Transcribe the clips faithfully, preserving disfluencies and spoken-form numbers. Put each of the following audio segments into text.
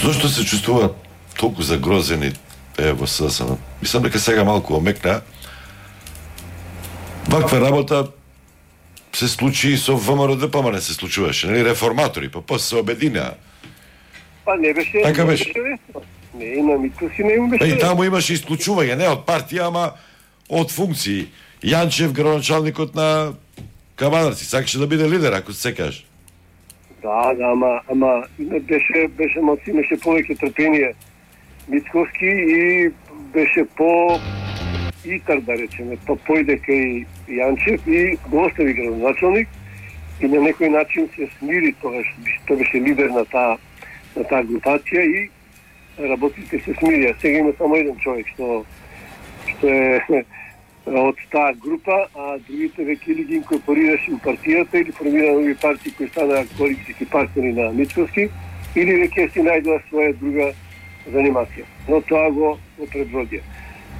Зошто се чувствува толку загрозени е во СДСМ? Мислам дека сега малку омекна. Ваква работа се случи и со ВМРО-ДПМН не се случуваше, нели, реформатори, па после се обединеа. Па не беше. Така беше. Не, има Митковски, не беше. Па и таму имаше исклучување, не од партија, ама од функции. Јанчев, градоначалникот на Камадарци, сакаше да биде лидер, ако се сеќаш. Да, да, ама, ама беше, беше малци, имаше повеќе трпение Митковски и беше по итар, да речеме, па појде кај Јанчев и го остави градоначалник и на некој начин се смири тогаш, тоа беше лидер на таа на таа групација и работите се смирија. Сега има само еден човек што што е од таа група, а другите веќе или ги инкорпорираше во партијата или формира нови партии кои станаа коалицијски партнери на Митковски или веќе си најдоа своја друга занимација. Но тоа го, го предводија.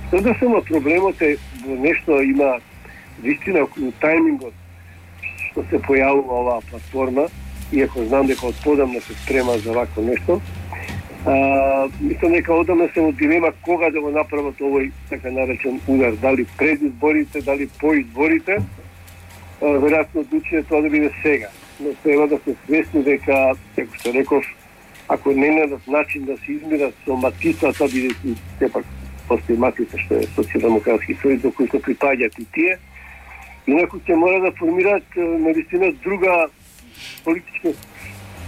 Тоа само проблемот е во нешто има вистина околу тајмингот што се појавува оваа платформа, иако знам дека од подамна се спрема за вакво нешто. А, мислам дека одамна се во дилема кога да го направат овој така наречен удар, дали пред изборите, дали по изборите. Веројатно одлучи тоа да биде сега. Но треба да се свесни дека, како што реков, ако не најдат начин да се измират со матицата, бидејќи сепак постои матица што е социјалдемократски сојуз до кој се припаѓаат и тие, инаку ќе мора да формираат навистина друга политичка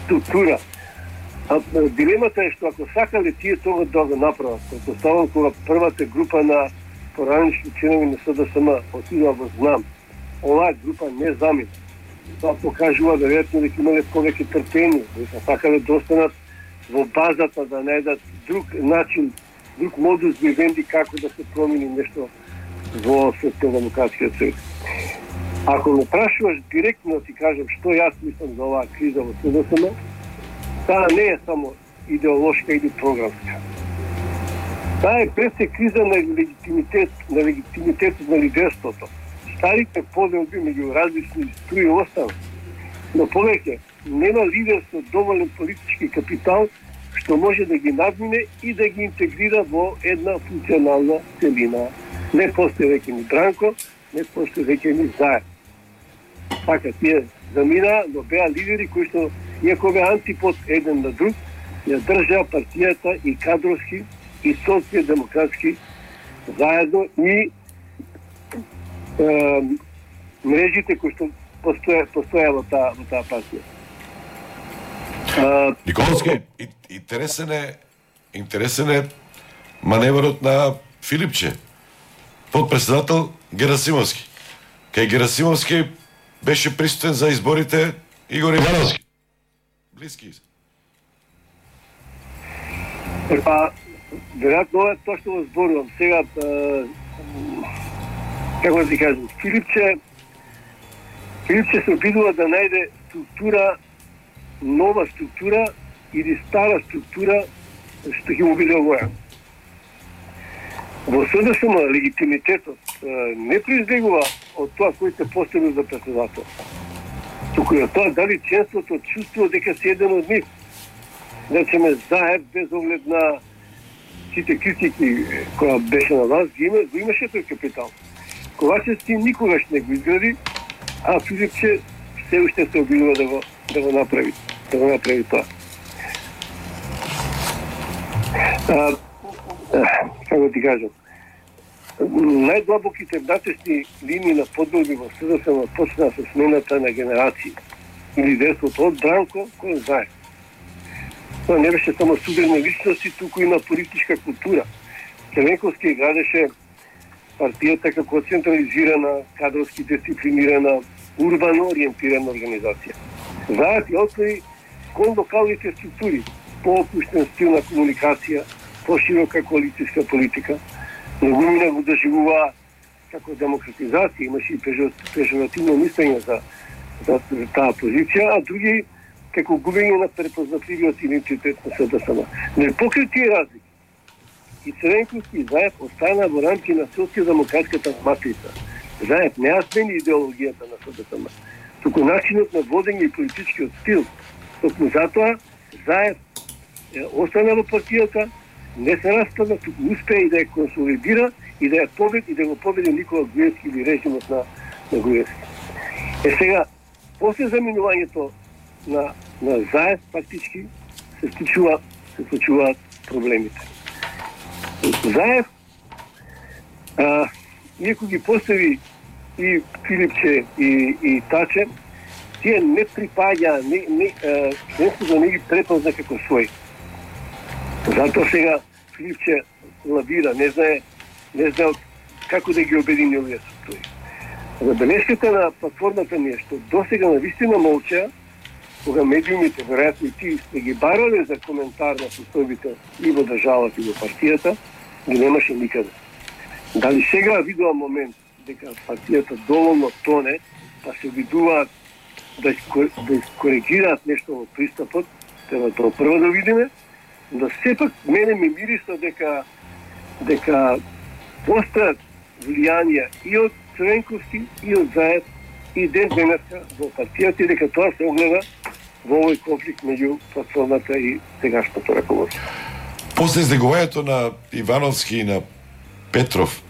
структура. А дилемата е што ако сакале тие тоа да го направат, претпоставам кога првата група на поранични членови на СДСМ отидоа во Знам, оваа група не замина. Тоа покажува веројатно дека имале повеќе трпение, дека сакале да останат во базата да најдат друг начин, друг модус вивенди како да се промени нешто во Социјалдемократскиот сојуз. Ако ме прашуваш директно ти кажам што јас мислам за оваа криза во СДСМ, таа не е само идеолошка или програмска. Таа е пред се криза на легитимитет, на легитимитетот на лидерството. Старите поделби меѓу различни струи останат. Но повеќе нема лидерство доволен политички капитал што може да ги надмине и да ги интегрира во една функционална целина. Не постои веќе ни Дранко, не постои веќе ни Заев. Така, тие замина, но беа лидери кои што, иако беа антипод еден на друг, ја држаа партијата и кадровски, и социјалдемократски заедно и е, мрежите кои што постоја, постоја во таа, во таа партија. Николовски, интересен е, интересен е маневрот на Филипче, подпредседател Герасимовски. Кај Герасимовски беше присутен за изборите Игор Ивановски. Блиски се. Епа, веројатно е тоа што го зборувам. Сега, е, како да ти кажам, Филипче, Филипче се обидува да најде структура, нова структура или стара структура што ќе му биде овоја. Во СДСМ легитимитетот не произлегува од тоа кој се поставил за председател. Туку е тоа дали членството чувствува дека се еден од нив. Речеме Заев без оглед на сите критики која беше на вас, ги, има, го имаше тој капитал. Ковачев си никогаш не го изгради, а Филипче се уште се обидува да го, да го направи, да го направи тоа. А, како ти кажам, најдлабоките внатрешни линии на подборби во СДСМ почнаа со смената на генерации и лидерството од Дранко кој знае. Тоа не беше само суверени личности, туку има политичка култура. Червенковски градеше партијата како централизирана, кадровски дисциплинирана, урбано ориентирана организација. Заед и отвори кон локалните структури, по-опуштен стил на комуникација, по-широка коалицијска политика, многу мина го доживува како демократизација, имаше и пежоративно мислење за, за, за таа позиција, а други како губење на препознатливиот идентитет на СДСМ. Не покрај тие разлики, и Цренковски и Заев остана во рамки на социјалдемократската матрица. Заев не смени идеологијата на СДСМ, туку начинот на водење и политичкиот стил. Токму затоа Заев е, остана во партијата, не се распадна, туку успеа и да ја консолидира и да ја победи и да го победи Никола Груевски или режимот на, на Груевски. Е сега, после заминувањето на, на Заев, фактички, се случува, се случуваат проблемите. Заев, а, иако ги постави и Филипче и, и Таче, тие не припаѓа, не, не, членството не ги препозна како свој. Затоа сега Филипче лавира, не знае, не знае како да ги обедини овие структури. Забелешката на платформата ми е што досега навистина молча, кога медиумите, веројатно и ти сте ги барале за коментар на состојбите и во државата и во партијата, ги немаше никаде. Дали сега видува момент дека партијата доволно тоне, па се обидуваат да коригираат нешто во пристапот, треба тоа прво да видиме, но сепак мене ми мириса дека дека постојат влијанија и од Црвенковски и од Заев и ден денеска во партијата и дека тоа се огледа во овој конфликт меѓу платформата и сегашното раководство. После издегувањето на Ивановски и на Петров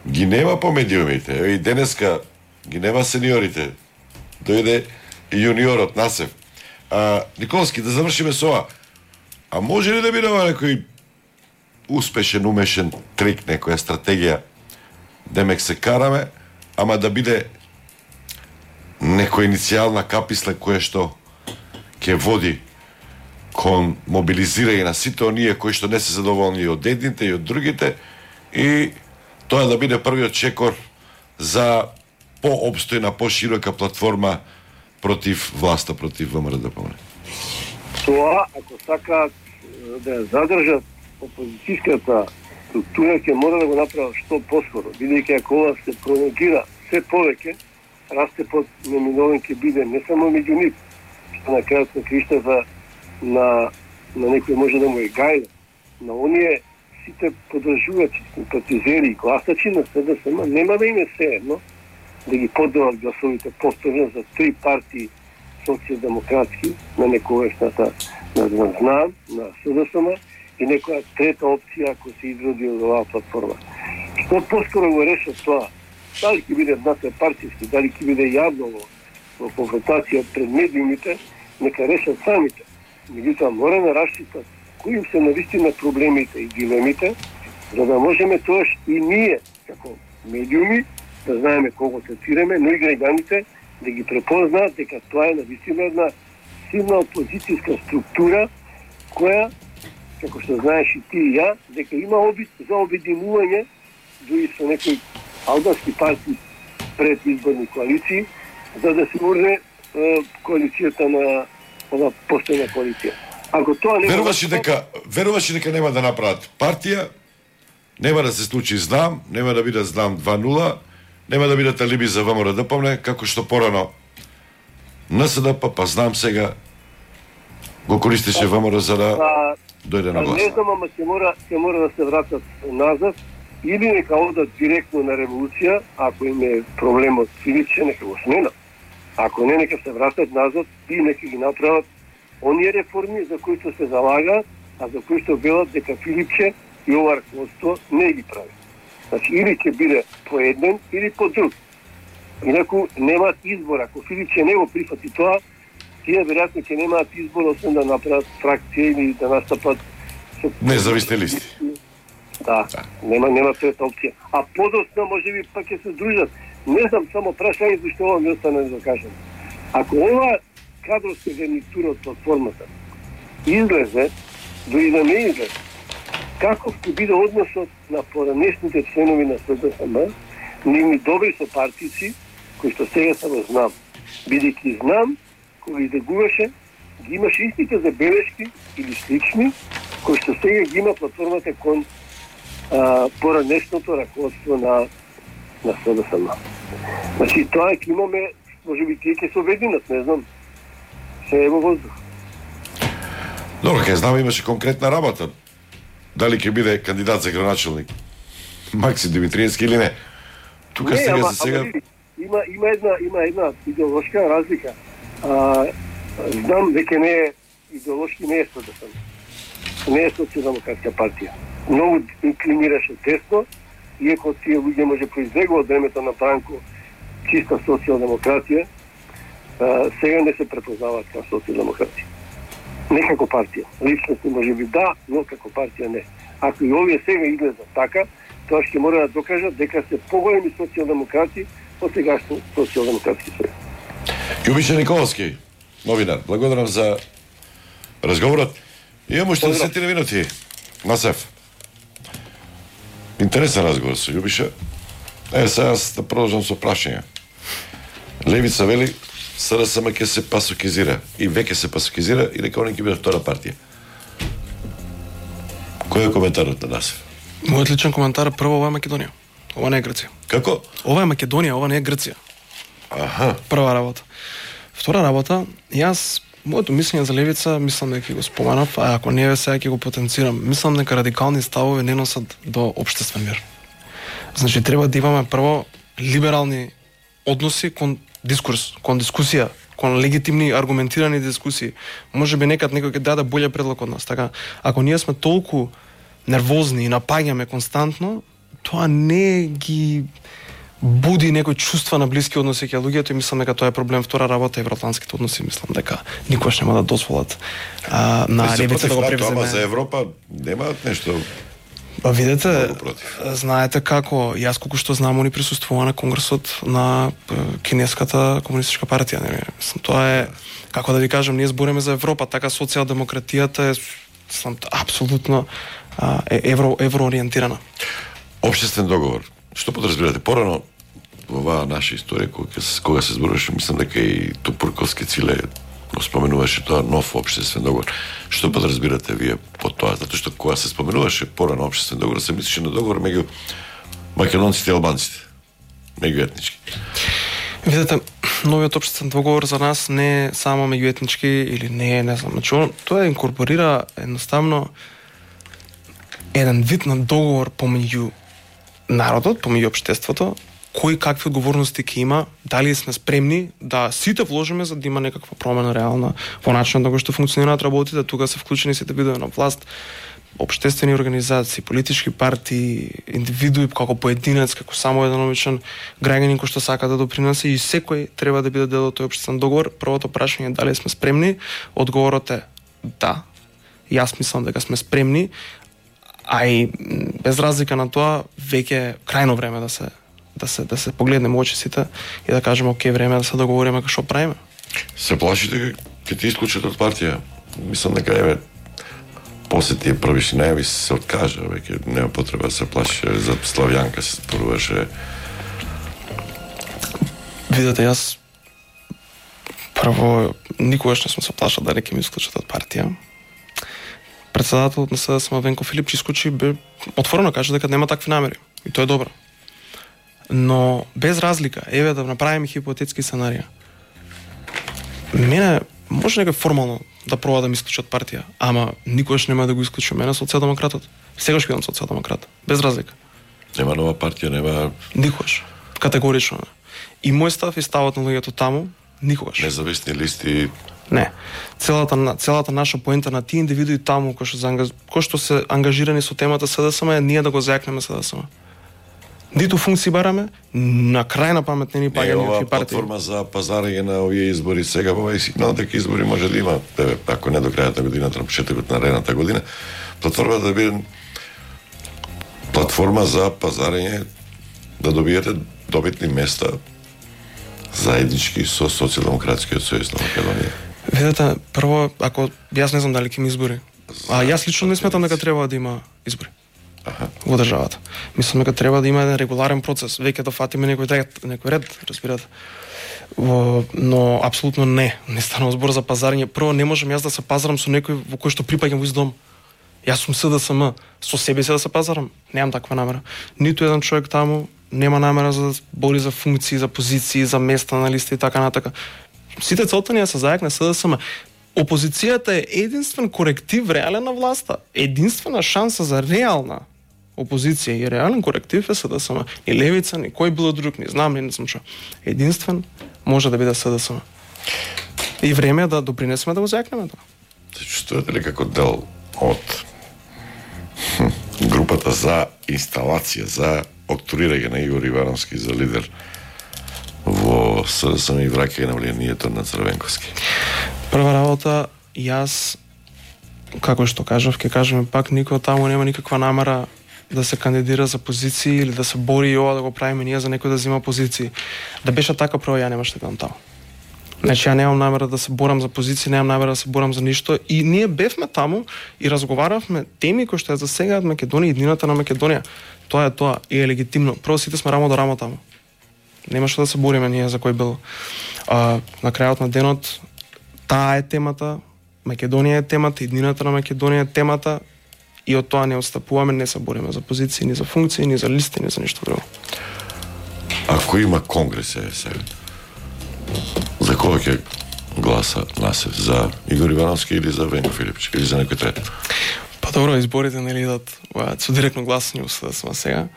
ги нема по медиумите, и денеска ги нема сениорите. Дојде и јуниорот Насев. А, Николски, да завршиме со ова. А може ли да биде ова некој успешен, умешен трик, некоја стратегија, демек се караме, ама да биде некоја иницијална каписла која што ќе води кон мобилизирање на сите оние кои што не се задоволни и од едните и од другите, и тоа да биде првиот чекор за пообстојна, поширока платформа против власта, против ВМРО-ДПМН. Тоа, ако сакаат да ја задржат опозицијската структура, ќе мора да го направат што поскоро, бидејќи ако ова се пролонгира се повеќе, растепот неминовен ќе биде не само меѓу нив, што на крајот на криштата на, на некој може да му е гајда, на оние сите подржувачи, симпатизери и гласачи на СДСМ, нема да им е се едно да ги подават гласовите повторно за три партии социјалдемократски на некојашната на ЗНАМ, на СДСМ и некоја трета опција ако се изроди од оваа платформа. Што поскоро го решат тоа, дали ќе биде надпартиски, дали ќе биде јавно во, во конфронтација пред медиумите, нека решат самите. Меѓутоа мора да расчитат кои се навистина проблемите и дилемите, за да можеме тоаш и ние, како медиуми, да знаеме кого третираме, но и граѓаните да ги препознаат дека тоа е навистина една силна опозицијска структура, која, како што знаеш и ти и ја, дека има обид за обединување, дури со некои албански партии пред изборни коалиции, за да се урне коалицијата на ова постојна коалиција. Ако тоа не веруваш дека веруваш дека нема да направат партија, нема да се случи знам, нема да биде знам два нула, нема да бидат алиби за ВМРО-ДПМН, како што порано НСДП, па знам сега го користеше ВМРО за да а, дојде на власт. Не знам, ама ќе мора, ќе мора да се вратат назад, или нека одат директно на револуција, ако им е проблемот Филипче, нека го сменат. Ако не, нека се вратат назад и нека ги направат оние реформи за кои се залагаат, а за кои што велат дека Филипче и ова раководство не ги прави. Значи, или ќе биде по еден, или по друг. Инаку немаат избор. Ако Филипче не го прифати тоа, тие веројатно ќе немаат избор, освен да направат фракција или да настапат со независни листи. Да, да. нема нема трета опција. А подоцна можеби пак ќе се дружат. Не знам, само прашање зашто ова ми остане да кажам. Ако ова кадровска гарнитура од платформата излезе, дори да не излезе, каков ќе биде односот на поранешните членови на СДСМ, нивни добри сопартици, кои што сега само знам. Бидејќи знам, кога издегуваше, ги имаше истите забелешки или слични, кои што сега ги има платформата кон а, поранешното раководство на на СДСМ. Значи, тоа е ќе имаме, може би тие ќе се обединат, не знам, се е во воздух. Добро, ке знам, имаше конкретна работа. Дали ќе биде кандидат за градоначелник Максим Димитриевски или не? Тука не, сега ама, за сега... Ама, има, има, една, има една идеолошка разлика. А, знам дека не е идеолошки, не е СДСМ. не е социјалдемократска партија. Многу инклинираше десно, иако тие луѓе може произлегува од времето на Бранко чиста социјалдемократија, сега не се препознаваат како социјалдемократија. Не како партија. Личности може би да, но како партија не. Ако и овие сега изгледат така, тоа ќе мора да докажат дека се поголеми социјалдемократи од сегашни социјалдемократски сојуз. Љубиша Николовски, новинар, благодарам за разговорот. Имам уште десет минути. Насев. Интересен разговор со Љубиша. Е, сега да продолжам со прашање. Левица вели СДСМ ќе се пасокизира и веќе се пасокизира и дека они ќе бидат втора партија. Кој е коментарот на Насев? Мојот личен коментар е прво, ова е Македонија. Ова не е Грција. Како? Ова е Македонија, ова не е Грција. Аха. Прва работа. Втора работа, јас моето мислење за левица, мислам дека ќе го споменав, а ако не е сега ќе го потенцирам. Мислам дека радикални ставови не носат до општествен мир. Значи треба да имаме прво либерални односи кон дискурс, кон дискусија, кон легитимни аргументирани дискусии. Може би некад некој ќе даде болje предлог од нас. Така, ако ние сме толку нервозни и напаѓаме константно, тоа не ги буди некој чувства на блиски односи кај луѓето и мислам дека тоа е проблем. Втора работа евроатлантските односи, мислам дека никош нема да дозволат а, на левица да го превземе. Ама за Европа немаат нешто. Па видете, знаете како, јас колку што знам, они присуствува на конгресот на кинеската комунистичка партија, нели? Мислам, тоа е, како да ви кажам, ние збориме за Европа, така социјалдемократијата е мислам апсолутно е евро евроориентирана. Општествен договор. Што подразбирате? Порано во оваа наша историја кога се кога се зборуваше, мислам дека и Тупурковски Циле го споменуваше тоа нов општествен договор. Што подразбирате вие под тоа? Затоа што кога се споменуваше порано општествен договор, се мислеше на договор меѓу македонците и албанците, меѓуетнички. Видете, новиот општествен договор за нас не е само меѓуетнички или не е, не знам, значи тоа инкорпорира едноставно еден вид на договор помеѓу народот, помеѓу општеството, кои какви одговорности ќе има, дали сме спремни да сите вложиме за да има некаква промена реална во начинот на кој што функционираат работите, тука се вклучени сите видови на власт, општествени организации, политички партии, индивидуи како поединец, како само еден обичен граѓанин кој што сака да допринесе и секој треба да биде дел од тој општествен договор. Првото прашање е дали сме спремни, одговорот е да. Јас мислам дека сме спремни, а и без разлика на тоа веќе е крајно време да се да се да се погледнеме очи сите и да кажеме оке, време да се договориме што правиме. Се плашите ќе ти исклучат од партија? Мислам дека еве после тие првишни најави се откажа, веќе нема потреба да се плаши. За Славјанка се споруваше. Видете, јас прво никогаш не сум се плашал да ќе ми исклучат од партија. Председателот на СДСМ Венко Филипчи исклучи бе отворено каже дека нема такви намери и тоа е добро. Но без разлика, еве да направиме хипотетски сценарија. Мене може некој формално да проба да ми исклучат партија, ама никогаш нема да го исклучи мене социјалдемократот. Сегаш бидам социјалдемократ, без разлика. Нема нова партија, нема никогаш. Категорично не. И мој став и ставот на луѓето таму никогаш. Независни листи. Не. Целата целата наша поента на тие индивидуи таму кои што се ангаж... кои што се ангажирани со темата СДСМ е ние да го зајакнеме СДСМ. Ниту функции бараме, на крај на памет не ни паѓа никакви партии. Платформа за пазарење на овие избори сега, во овој сигнал дека избори може да има, тебе, ако не до крајот на годината, на почетокот на наредната година, платформа да биде платформа за пазарење, да добиете добитни места заеднички со Социјалдемократскиот сојуз на Македонија. Видете, прво, ако јас не знам дали ќе ми избори, а јас лично не сметам дека треба да има избори. Аха. Во државата. Мислам дека треба да има еден регуларен процес, веќе да фатиме некој ред, некој ред, разбирате. Во, но апсолутно не, не станува збор за пазарење. Прво не можам јас да се пазарам со некој во кој што припаѓам во издом. Јас сум СДСМ, со себе си да се пазарам, немам таква намера. Ниту еден човек таму нема намера за да бори за функции, за позиции, за места на листа и така натака. Сите целта ни е да се зајакне СДСМ. Опозицијата е единствен коректив реален на власта. Единствена шанса за реална опозиција и реален коректив е СДСМ. Ни левица, ни кој било друг, не знам, не знам што. Единствен може да биде СДСМ. И време е да допринесеме да го зајакнеме тоа. Се чувствувате ли како дел од групата за инсталација, за октурирање на Игор Ивановски за лидер во СДСМ и враќање на влијанието на Црвенковски? Прва работа, јас, како што кажав, ќе кажеме пак, никој таму нема никаква намера да се кандидира за позиции или да се бори и ова да го правиме ние за некој да зема позиции. Да беше така, прво ја немаше да бидам таму. Значи, ја немам намера да се борам за позиции, немам намера да се борам за ништо. И ние бевме таму и разговаравме теми кои што ја засегаат Македонија и иднината на Македонија. Тоа е тоа и е легитимно. Прво сите сме рамо до рамо таму. Немаше да се бориме ние за кој бил. А, на крајот на денот, таа е темата, Македонија е темата, иднината на Македонија е темата и од тоа не отстапуваме, не се бориме за позиции, ни за функции, ни за листи, ни за ништо друго. Ако има конгрес е сега, за кога ќе гласа Насев? За Игор Ивановски или за Венко Филипчик или за некој трет? Па добро, изборите не идат со директно гласање во СДСМ сега.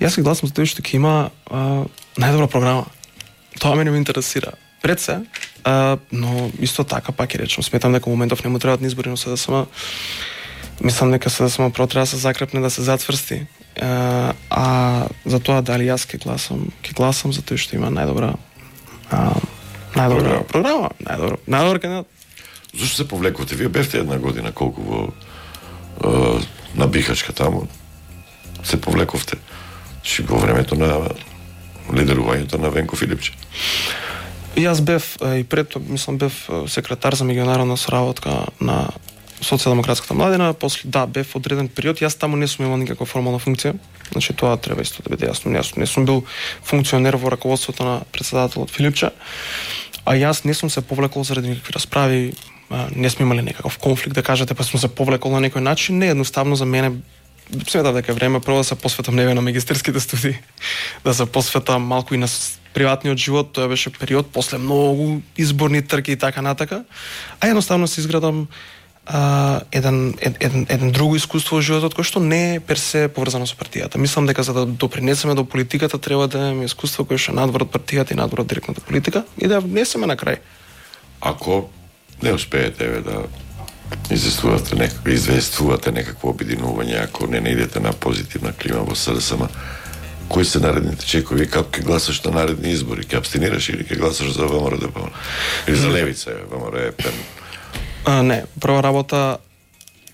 Јас ќе гласам за тоа што ќе има а, најдобра програма. Тоа мене ме интересира. Пред се, а, но исто така пак ќе речем, сметам дека во моментов не му требаат ни избори, но СДСМ мислам дека СДСМ про треба да се закрепне, да се зацврсти. А, а за тоа дали јас ќе гласам, ќе гласам за тоа што има најдобра а, најдобра програма, најдобра, најдобра кандидат. Зошто се повлековте? Вие бевте една година колку во е, на Бихачка таму. Се повлековте. Чи во времето на лидерувањето на Венко Филипче. И јас бев и пред тоа, мислам, бев секретар за меѓународна соработка на Социјалдемократската младина, после да бев одреден период, јас таму не сум имал никаква формална функција. Значи тоа треба исто да биде јасно. Јас не сум бил функционер во раководството на претседателот Филипче, а јас не сум се повлекол заради никакви расправи, не сме имали некаков конфликт, да кажете, па сум се повлекол на некој начин. Не, едноставно за мене сметав дека е време прво да се посветам неве на магистерските студии, да се посветам малку и на приватниот живот. Тоа беше период после многу изборни трки и така натака, а едноставно се изградам Uh, еден, еден, еден друго искуство во животот кој што не е персе поврзано со партијата. Мислам дека за да допринесеме до политиката треба да имаме искуство кое што е надвор од партијата и надвор од директната политика и да внесеме на крај. Ако не успеете ве да известувате некакво, известувате некакво обединување, ако не наидете на позитивна клима во СДСМ, кои се наредните чекови, како ќе гласаш на наредни избори? Ќе абстинираш или ќе гласаш за ВМРО ДП? Или за Левица, ВМРО е пен? А, не, прва работа,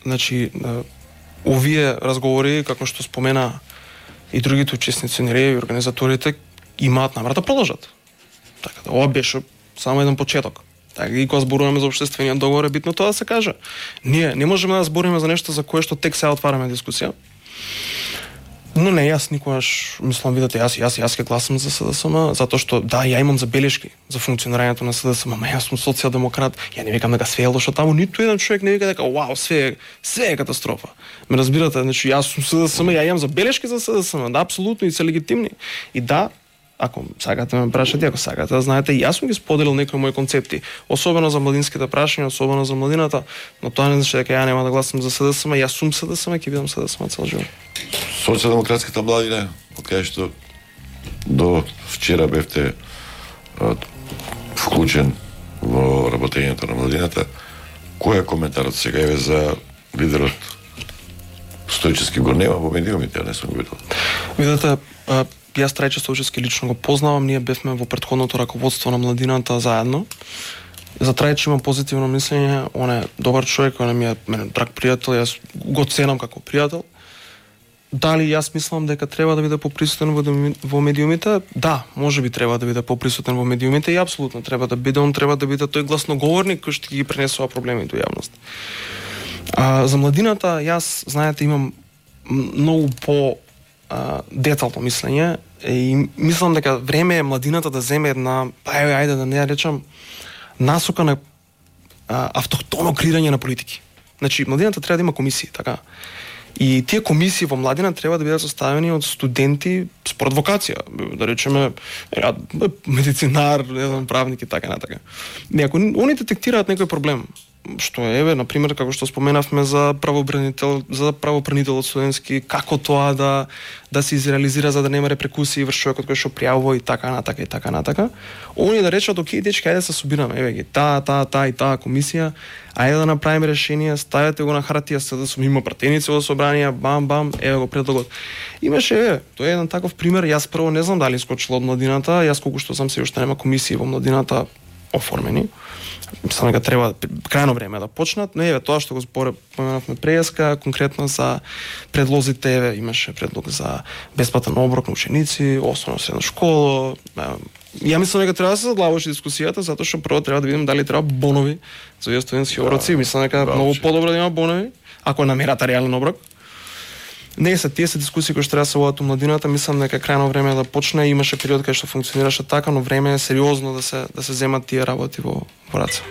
значи, овие разговори, како што спомена и другите учесници на и организаторите, имаат намера да продолжат. Така да, ова беше само еден почеток. Така и кога зборуваме за општествениот договор, е битно тоа да се каже. Ние не можеме да збориме за нешто за кое што тек сега отвараме дискусија. Но не, јас никогаш, мислам, видите, јас, јас, јас ќе гласам за СДСМ, затоа што, да, ја имам забелешки за функционирањето на СДСМ, ама јас сум социјалдемократ, ја не викам дека све е лошо таму, ниту еден човек не вика дека, вау, све, све е катастрофа. Ме разбирате, значи, јас сум СДСМ, ја имам забелешки за СДСМ, да, апсолутно, и се легитимни. И да, ако сакате ме прашате, ако сакате да знаете, јас сум ги споделил некои мои концепти, особено за младинските прашања, особено за младината, но тоа не значи дека ја нема да гласам за СДСМ, јас сум СДСМ, ќе бидам СДСМ цел живот. Социјалдемократската младина, од кај што до вчера бевте а, вклучен во работењето на младината, кој е коментарот сега еве за лидерот Стојчевски? Го нема во медиумите, а не сум го видел. Видете, а, јас Трајче Стојчевски лично го познавам, ние бевме во претходното раководство на младината заедно. За Трајче имам позитивно мислење, он е добар човек, он е ми е мене драг пријател, јас го ценам како пријател. Дали јас мислам дека треба да биде поприсутен во, во медиумите? Да, може би треба да биде поприсутен во медиумите и апсолутно треба да биде, он треба да биде тој гласноговорник кој што ги пренесува проблеми до јавност. А, за младината, јас, знаете, имам многу по а, детално мислење и мислам дека време е младината да земе една, па еве, ајде да не ја речам, насока на а, автохтоно креирање на политики. Значи, младината треба да има комисии, така. И тие комисии во младина треба да бидат составени од студенти според вокација, да речеме медицинар, не знам, правник и така натака. И ако они детектираат некој проблем, што е, еве, на пример, како што споменавме за правобранител, за правобранителот студентски, како тоа да да се изреализира за да нема репрекусии врз човекот кој што пријавува и така натака и така натака. Они да речат, окей, дечки, ајде да се собираме, еве ги, таа, таа, таа и таа комисија, ајде да направиме решение, ставете го на хартија, се да сме има пратеници во собрание, бам бам, еве го предлогот. Имаше, еве, тоа е еден таков пример, јас прво не знам дали скочила од младината, јас колку што знам се уште нема комисии во младината оформени. Мислам дека треба крајно време да почнат, но еве тоа што го споменавме преска, конкретно за предлозите, еве имаше предлог за бесплатен оброк на ученици, основна средна школа. Ја мислам дека треба да се задлабочи дискусијата, затоа што прво треба да видиме дали треба бонови за овие студентски оброци. Мислам дека многу подобро да има бонови, ако намерата реален оброк. Не се тие се дискусии кои што треба да се водат у младината, мислам дека крајно време да почне, имаше период кај што функционираше така, но време е сериозно да се да се земат тие работи во во раце.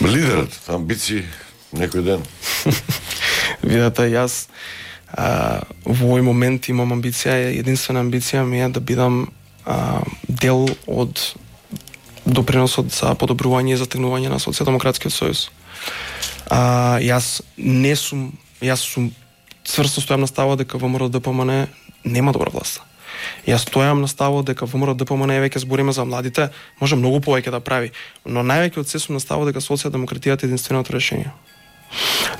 Лидерот, амбиции некој ден. Видете, јас а, во овој момент имам амбиција, единствена амбиција ми е да бидам а, дел од доприносот за подобрување и затегнување на Социјалдемократскиот сојуз. А, јас не сум, јас сум цврсто стојам на ставот дека ВМРО ДПМН нема добра власт. Јас стојам на ставот дека ВМРО ДПМН е веќе збориме за младите, може многу повеќе да прави, но највеќе од се сум на ставот дека социјалдемократијата е единственото решение.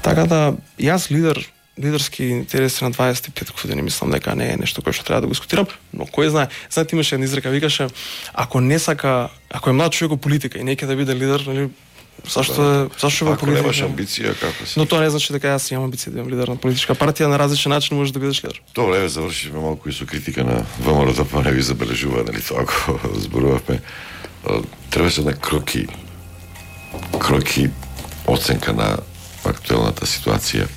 Така да јас лидер лидерски интереси на дваесет и пет години мислам дека не е нешто кое што треба да го дискутирам, но кој знае, знаете имаше една изрека, викаше ако не сака, ако е млад човек во политика и не ќе да биде лидер, нели Зашто е, зашто во политика? Ако немаш амбиција, како си? Но тоа не значи дека јас имам амбиција да бидам лидер на политичка партија, на различен начин можеш да бидеш лидер. Добре, еве завршивме малку и со критика на ВМРО да па не ви забележува, нели тоа ако зборувавме. Требаше на кроки кроки оценка на актуелната ситуација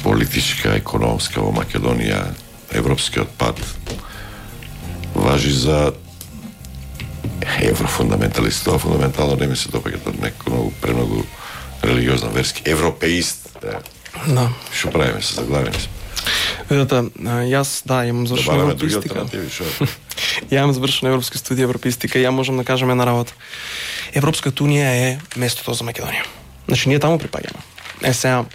политичка, економска во Македонија, европскиот пат важи за еврофундаменталист, тоа фундаментално не ми се допаѓа, тоа некој многу премногу религиозна верски европеист. Да. Да. Што правиме се заглавени? Видете, јас да имам завршена европеистика. Ја имам завршена европска студија европеистика и ја можам да кажам една работа. Европската унија е местото за Македонија. Значи ние таму припаѓаме. Е сега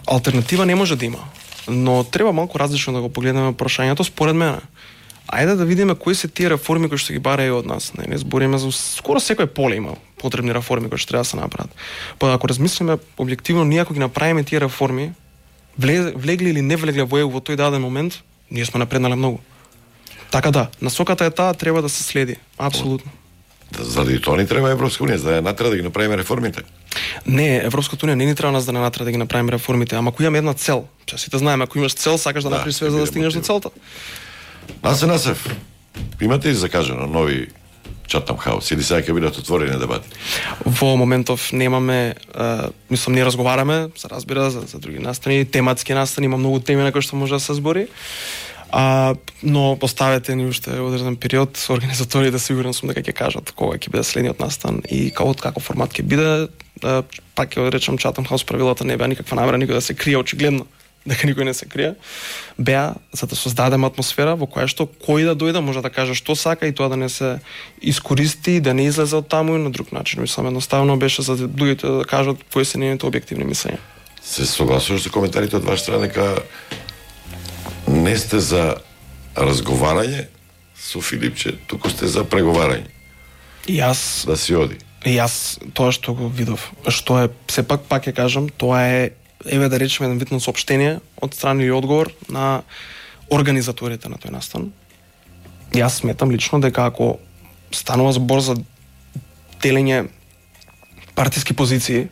алтернатива не може да има, но треба малку различно да го погледнеме прашањето според мене. Ајде да видиме кои се тие реформи кои што ги бараат од нас. Не, не збориме за скоро секој поле има потребни реформи кои што треба да се направат. Па ако размислиме објективно, ние ако ги направиме тие реформи, влегли или не влегле во во тој даден момент, ние сме напреднале многу. Така да, насоката е таа, треба да се следи. Апсолутно. Заради тоа ни треба Европска унија, за да натера да ги направиме реформите. Не, Европската унија не ни треба нас да не натера да ги направиме реформите, ама ако имаме една цел, че сите знаеме, ако имаш цел, сакаш да, да направиш све за да стигнеш до целта. Насе Насев, имате ли закажано нови Chatham House или сега ќе бидат отворени дебати? Во моментов немаме, е, мислам не разговараме, се разбира за, за други настани, тематски настани, има многу теми на кои што може да се збори. А, но поставете ни уште одреден период, организаторите сигурен сум дека ќе кажат кога ќе биде следниот настан и како како формат ќе биде. Да, пак ќе речам Chatham House правилата не беа никаква намера никој да се крие, очигледно дека никој не се крие. Беа за да создадеме атмосфера во која што кој да дојде може да каже што сака и тоа да не се искористи, да не излезе од таму и на друг начин. Мислам едноставно беше за луѓето да кажат кои се нивните објективни мислења. Се согласуваш со коментарите од ваша страна дека не сте за разговарање со Филипче, туку сте за преговарање. И јас да си оди. И јас тоа што го видов, што е сепак пак ќе кажам, тоа е еве да речеме еден вид на соопштение од страна или одговор на организаторите на тој настан. Јас сметам лично дека ако станува збор за делење партиски позиции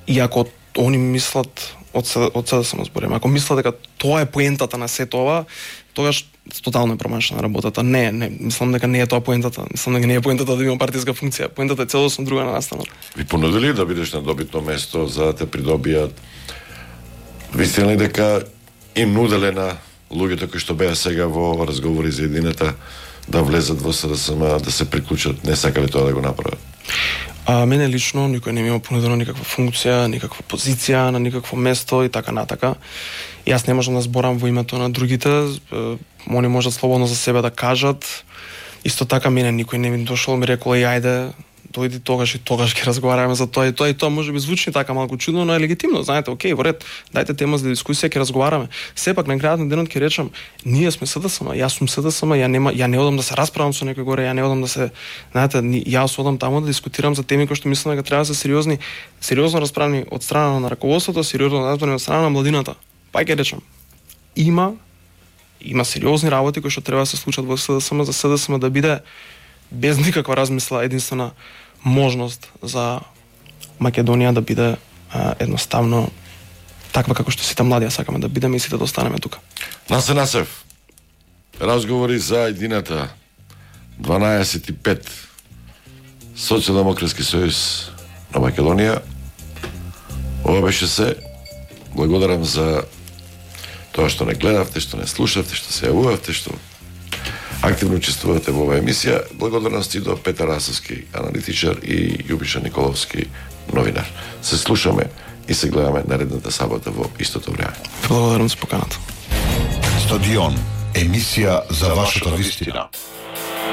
и ако они мислат од се, од се да само збориме, ако мислат дека тоа е поентата на сето ова, тогаш тотално е промашена работата. Не, не, мислам дека не е тоа поентата. Мислам дека не е поентата да има партиска функција. Поентата е целосно друга на настанот. Ви понудили да бидеш на добитно место за да те придобијат? Вистина ли дека им нуделе на луѓето кои што беа сега во разговори за едината да влезат во СДСМ, да се приклучат, не сакале тоа да го направат? А мене лично никој не ми има понудено никаква функција, никаква позиција на никакво место и така натака. И јас не можам да зборам во името на другите, они можат слободно за себе да кажат. Исто така мене никој не ми дошол, ми рекол и ајде дојди тогаш и тогаш ќе разговараме за тоа и тоа и тоа може би звучи така малку чудно, но е легитимно, знаете, окей, во ред, дајте тема за дискусија, ќе разговараме. Сепак на крајот на денот ќе речам, ние сме СДСМ, јас сум СДСМ, ја нема, ја не одам да се расправам со некој горе, ја не одам да се, знаете, јас одам таму да дискутирам за теми кои што мислам дека треба да се сериозни, сериозно расправни од страна на раководството, сериозно расправни од страна на младината. Па ќе речам, има има сериозни работи кои што треба да се случат во СДСМ, за СДСМ да биде без никаква размисла единствена можност за Македонија да биде а, едноставно таква како што сите млади сакаме да бидеме и сите да останеме тука. Насе Насев, разговори за едината дванаесет и пет Социјалдемократски сојуз на Македонија. Ова беше се. Благодарам за тоа што не гледавте, што не слушавте, што се јавувавте, што активно учествувате во оваа емисија. Благодарности до Петар Расовски, аналитичар, и Јубиша Николовски, новинар. Се слушаме и се гледаме наредната сабота во истото време. Благодарам за поканата. Стадион, емисија за вашата вистина.